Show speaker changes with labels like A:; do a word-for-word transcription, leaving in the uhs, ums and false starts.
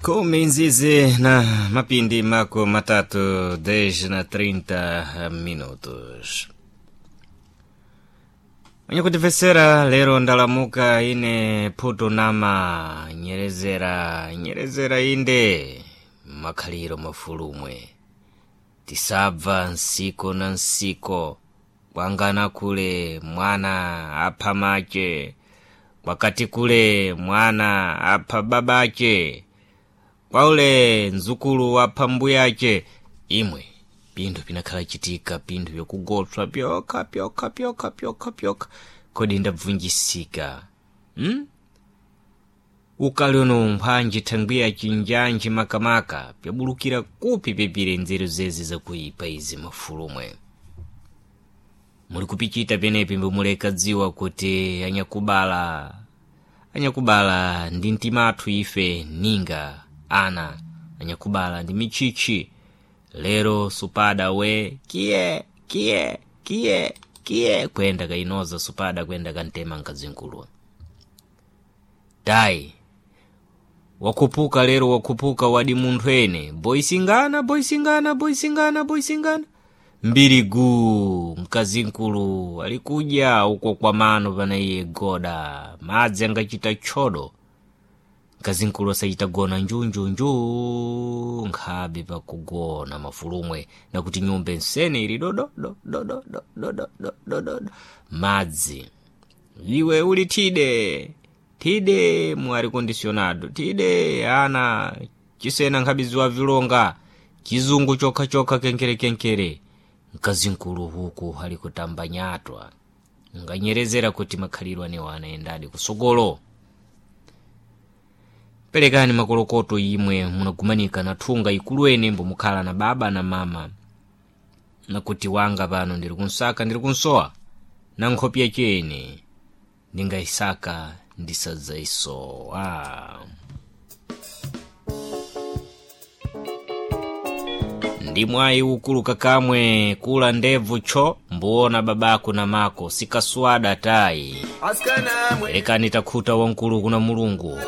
A: Kumi nzizi na mapindi mako matatu dez na trinta minutos. Mwenye kutifesera lero ndalamuka ine phutu nama nyerezera nyerezera inde makhaliro mafulumwe tisabva nsiko na nsiko kwangana kule mwana apha mache kwakati kule mwana apha babache kwaule nzukulu apha mbuyache imwe pinthu pinakhala chitika pinthu vyokugotswa pyokha pyokha pyokha pyokha pyokha kodi ndabvunjisika hmm? ukali uno mphwanji thangwiya chinjanji makamaka pyabulukira kupi pepire nzeru zezi zakuipa izi mafulumwe muli kupichita penepi mbomuleka dziwa kuti anyakubala anyakubala ndi mtimathu ife ninga ana anyakubala ndi michichi lero supada we kiye kiye kiye kiye kwenda kainoza supada kwenda kantema nkazinkulu dai wakhupuka lero wakhupuka wadi munthu ene boisingana boisingana boisingana boisingana mbiri guu mkazinkulu alikudya uko kwa mano pana iye goda madzi angachita tchodo mkazinkulu asachita gona njunjunju nkhabe pakugona mafulumwe nakuti nyumba nsene ili dododo dododo dododo dododo madzi iwe uli thide thide mu condicionado thide ana chisena nkhabiziwa vilonga chizungu chokhachokha kenkerekenkere mkazinkulu huku ali kutamba nyatwa nganyerezera kuti makhalidwe anewo anayendadi kusogolo perekani makolokoto imwe munagumanika na thunga ikulu ene mbomukhala na baba na mama nakuti wanga pano ndiri kunsaka ndiri kunsowa na nkhopi yachene ndingayisaka ndisadzaisowa ndi mwayi ukulu kakamwe kula ndebvu tcho mbuona babako na mako sikaswada tayi
B: Askana mwe
A: perekani takhuta wamkulu kuna mulungu.